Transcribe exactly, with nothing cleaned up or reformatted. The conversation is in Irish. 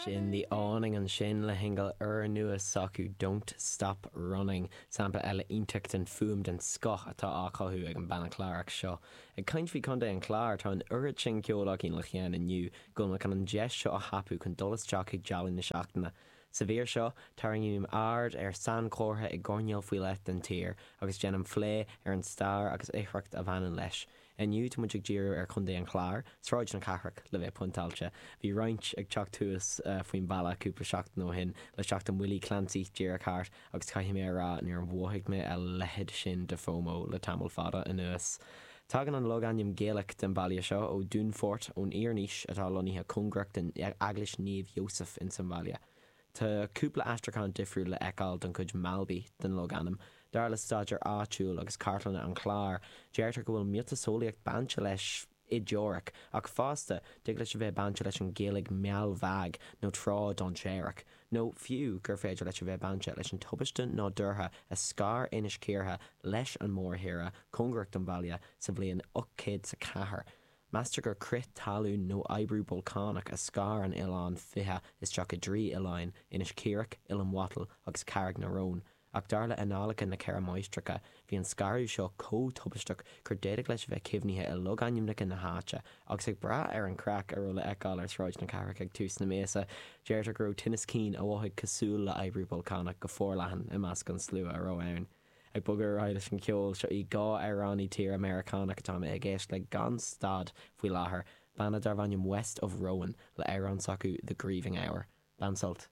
Sin The Awning ansin le singil úrnua s'acu Don't Stop Running, sampla eile iontach den fuaim den scoth atá á chothú ag an banna Clárach seo. Ag caint faoi Chontae an Chláir, tá an oiread sin ceoil againn le cheann inniu go bhfuil mé chun an deis seo a thapú chun dul isteach chuig dealú na seachtaine. Sa mhír seo, tarraingím aird ar sainchomhartha i gcoirnéal faoi leith den tír agus déanaim plé ar an stair agus oidhreacht a bhaineann leis. Inniu tá muid ag díriú ar Chontae an Chláir, Sráid na Cathrach le bheith pointeáilte. Bhí roinnt ag teacht thuas faoin bhalla cúpla seachtain ó shin le teacht an Willie Clancy díreach thart agus caithfidh mé a rá níor mhothaigh mé a leithéid sin de FOMO le tamall fada anuas. Tagann an logainm Gaelach den bhaile seo ó Dúnfort ón Iarnaois atá lonnaithe cóngarach den Eaglais Naomh Iósaf ins an bhaile. Tá cúpla aistriúchán difriúil le feiceáil don chuid Malby den logainm. Dar le staidéar áitiúil agus cartlanna an Chláir, deirtear go bhfuil miotaseolaíocht bainte leis i dteoiric, ach fosta tig leis a bheith bainte leis an Ghaeilge Mealbhag nó trá dainséarach, nó fiú gur féidir leis a bheith bainte leis an tubaiste nádúrtha a scar Inis Cíortha leis an mórthír cóngarach don bhaile sa bhliain ocht céad is a ceathair. Meastar gur crith talún nó oibriú bolcánach a scar an oileán fiche isteach i dtrí oileáin, Inis Cíorach, Oileán Bhatail agus Carraig na Rón. Ach dar le Annálacha na Ceithre Máistreacha, bhí an scaradh seo chomh tubaisteach gur d'fhéadfadh leis a bheith caomhnaithe i logainmneacha na háite, agus ag brath ar an chraic a raibh le feiceáil ar Sráid na Cathrach ag tús na míosa, deirtear go raibh tinneas cinn a mhothaigh cosúil le oibriú bolcánach go forleathan i measc an slua a raibh ann. Ag bogadh ar aghaidh leis an cheol, seo í dhá amhránaí tíre Meiriceánach atá mé ag éisteacht le gan stad faoi láthair, banna darb ainm West of Rowan le amhrán s'acu The Grieving Hour. Bain sult.